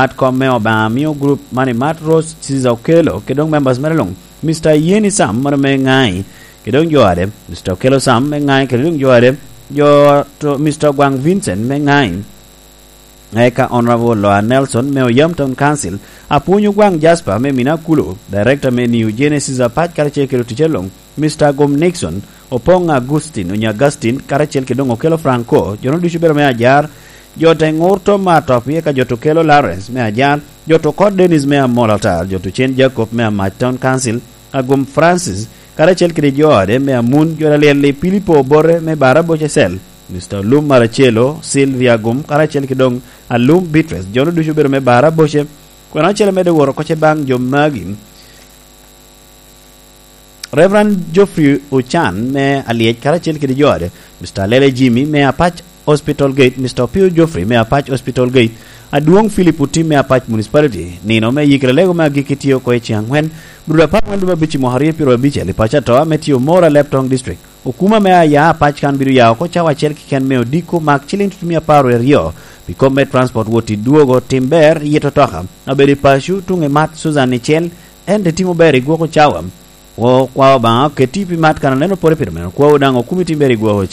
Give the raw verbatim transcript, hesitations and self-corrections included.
Mat kom me Obaŋa mio grup man i Mat Rose Caesar Okello kede doŋ members mere luŋ, Mister Yeni Sam mano me Ŋai kede doŋ jo ade, Mister Okello Sam me Ŋai kede doŋ jo ade, jo to Mister Ogwaŋ Vincent me Ŋai, eka Honorable Loa Nelson me Oyam Town Council, Apwony Ogwaŋ Jasper me Minakulu, Director me New Genesis Apac karacel kede oticce luŋ, Mister Agum Nixon, Opoŋ Agustin, Onyo Augustin, karacel kede doŋ Okello Franco, jo-nu ducu obedo me Ajar, jo te ŋur Tom Atop, eka jo to Okello Lawrence me Ajar, jo to Kot Dennis me Amol Atar, jo to Cen Jacob me Amac Town Council, Agum Francis, karacel kede jo ode me Amun, jo Alyel-li Pilipo Obote me Baraboce Cell, Mister Olum Maracelo, Sylvia Agum, karacel kede doŋ Alum Beatrice, jo-nu ducu obedo me Baraboce, kwena ocele medde woro oko ce baŋ jo magi. Reverend Geoffrey Ochan me Alyec karacel kede jo ode, Mister Lele Jimmy me Apac Hospital Gate, Mister Opio Geoffrey me Apac Hospital Gate, Adwoŋ Philip Otim me Apac Municipality, nino me yikere lego me agikki tye oko i ceŋ aŋwen, brudo apar aŋwen lub abic i mwaka aryo pyero abic i paco ato ame tye Omoro, Alep Town District. Okuma me aya Apac kan bino ya oko cawa acel keken me odiko mak ciliŋ tutumia apar wie aryo, pi kop me transport wot i dwogo, tim ber, yito toka, abedo i paco, tuŋ i mat, Susan i cel, en te timo ber i gwoko cawa. Wo kwa Obaŋa oketi pi mat kan aneno pore pire meno, kwawu daŋ okumi tim ber i gwoko